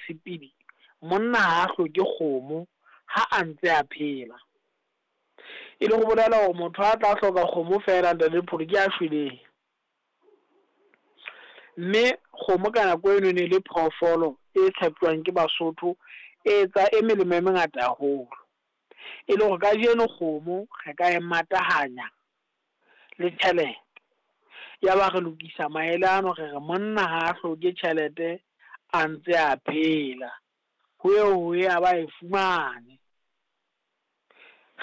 mosepedi, monna ha a hloke kgomo ha a ntse a phela. E le go bolela hore motho a tla hloka kgomo fela ntate Dipholo ke a shweleng. Mme kgomo ka nako eno e ne le phoofolo e tshepuwang ke Basotho, e etsa e melemo e mengata haholo. E le hore kajeno kgomo re ka e matahanya le tjhelete. Ya ba re lokisa maele ano re re monna ha a hloke tjhelete a ntse a phela, ho eo ho ya ba e fumane.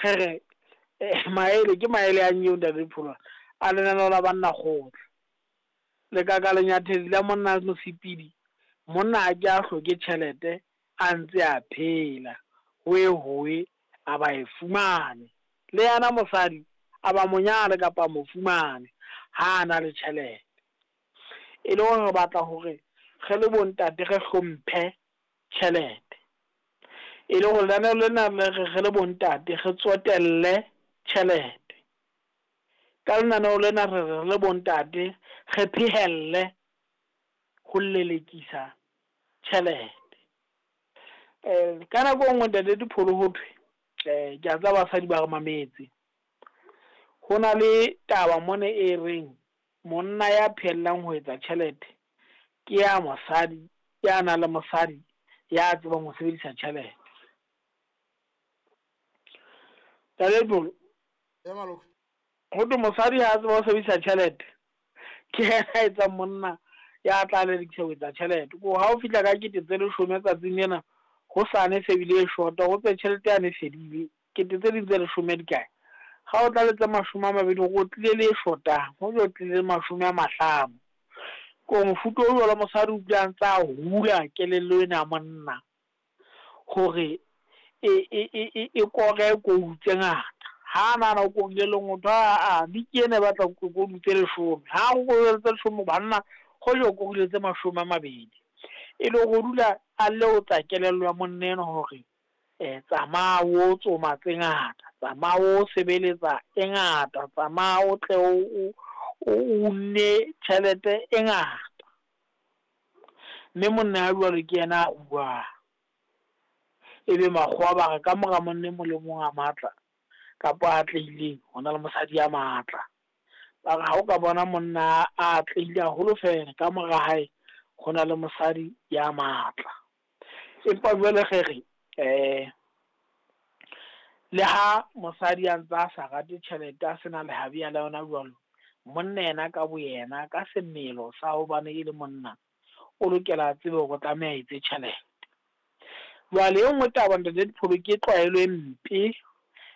Re re maele ke maele a nyeo ntate Dipholo a lenaneo la banna kgotla. Le ka ka lenyathedi la monna mosepedi, monna a ke a hloke tjhelete a ntse a phela, ho ye hoye a ba e fumane. Le yena mosadi a ba monyane kapa mo fumane ha a na le tjhelete. E le hore re batla hore re le bo ntate re hlomphe tjhelete. E le hore lenaneo lena le re re le bo ntate re tsotelle tjhelete. Ka lenaneo lena re re le bo ntate re phehelle ho lelekisa tjhelete. Ka nako e nngwe ntate Dipholo ho thwe, ke a tseba basadi ba re mametse. Ho na le taba mona e reng monna ya phehellang ho etsa tjhelete ke ya mosadi ya nang le mosadi ya tsebang ho sebedisa tjhelete. Ntate Dipholo, ho thwe mosadi ha tseba ho sebedisa tjhelete ke yena a etsang monna ya tla lelekisa ho etsa tjhelete. Ko ha o fihla ka 10 000 tsatsing lena, hosane se bile e short-a, ho tse tjhelete yane e fedile, kete tse ding tse leshome di kae? Ha o tla le tse 20 hore o tlile le e shotang, ho jo tlile le 50. Ko mofuta o jwalo mosadi o dula a ntse a hula kelello ena ya monna hore e kore kou tse ngata. Ha nahana o korile lengotho, aa biki ena e batla kodu tse 10. Ha o korile tse 10 banna, hoja o korile tse 20. E le hore o dula a leotsa kelello ya monna enwa hore tsamaya o tsoma tse ngata, tsamaya o sebeletsa e ngata, tsamaya o tle o unne tjhelete e ngata. Mme monna ya jwalo ke yena a ruang. Ebe makgowa ba re ka mora monna e mong le mong a matla kapa a atlehileng ho na le mosadi ya matla. Ba re ha o ka bona monna a atlehile haholo fela, ka mora hae ho na le mosadi ya matla. Empa jwale re re le ha mosadi a ntse a sa rate tjhelete, a sena lehabi la yona jwalo, monna yena ka boyena ka semelo sa hobane e le monna, o lokela a tsebe hore o tlameha a etse tjhelete. Jwale e nngwe taba ntate Dipholo ke tlwaelo e mpe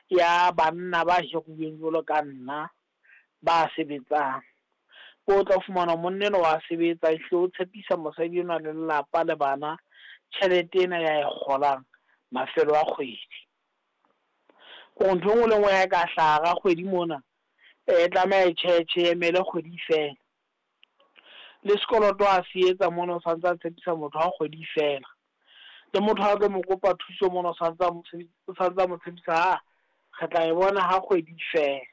ya banna ba hiruweng jwalo ka nna ba sebetsang. O tla fumana monna enwa wa sebetsa, ehlile o tshepisa mosadi enwa le lelapa le bana tjhelete ena ya e kgolang mafelo a kgwedi. Kore ntho e nngwe le e nngwe ya ka hlaha hara kgwedi mona, e tlameha e tjhetjhe e emele kgwedi e fela. Le sekoloto a se etsa mona o santse a tshepisa motho ha kgwedi e fela. Le motho ha tlo mo kopa thuso mona o santse a mo tshepisa, ha re tla e bona ha kgwedi e fela.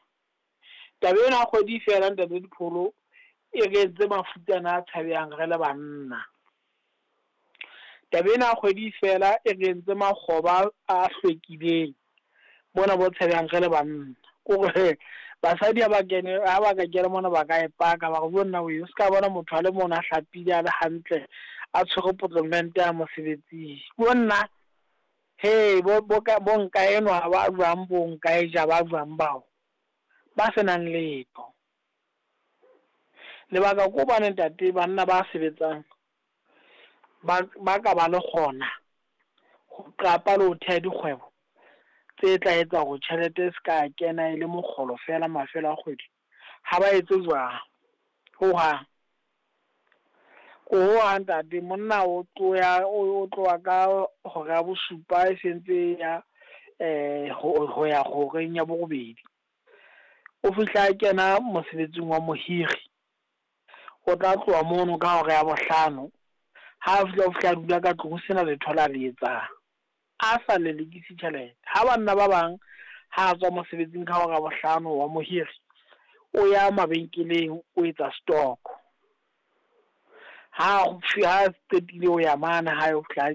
Taba ena ha kgwedi e fela ntate Dipholo e re entse mafutsana a tshabehang re le banna. Taba ena ya kgwedi e fela e re entse makgoba a hlwekileng mona bo tshabehang re le banna. Kore basadi ha ba kene, ha ba ka kena mona ba ka e paka ba re jo nna wee, o ska bona motho a le mona a hlapile a le hantle a tshwere potlolomente ya mosebetsing. Jo nna, he bo nka enwa ba jwang, bo nka e ja ba jwang bao ba senang letho. Lebaka ke hobane ntate banna ba sebetsang ba ka ba le kgona ho qapa le ho theha dikgwebo tse tla etsa hore tjhelete e ska kena e le mokgolo fela mafelo a kgwedi. Ha ba etse jwang hohang. Ko hohang ntate monna o tloha ka hora ya bosupa e sentse ya ho ya horeng ya borobedi. O fihla a kena mosebetsing wa mohiri, o tla tloha mono ka hora ya bohlano. Ha fihla o fihla a dula ka tlung ho sena letho la le etsang, a sa lelekisi tjhelete. Ha banna ba bang ha a tswa mosebetsing ka hora ya bohlano wa mohiri, o ya mabenkeleng o etsa stock. Ha qetile ho ya mane hae o fihla.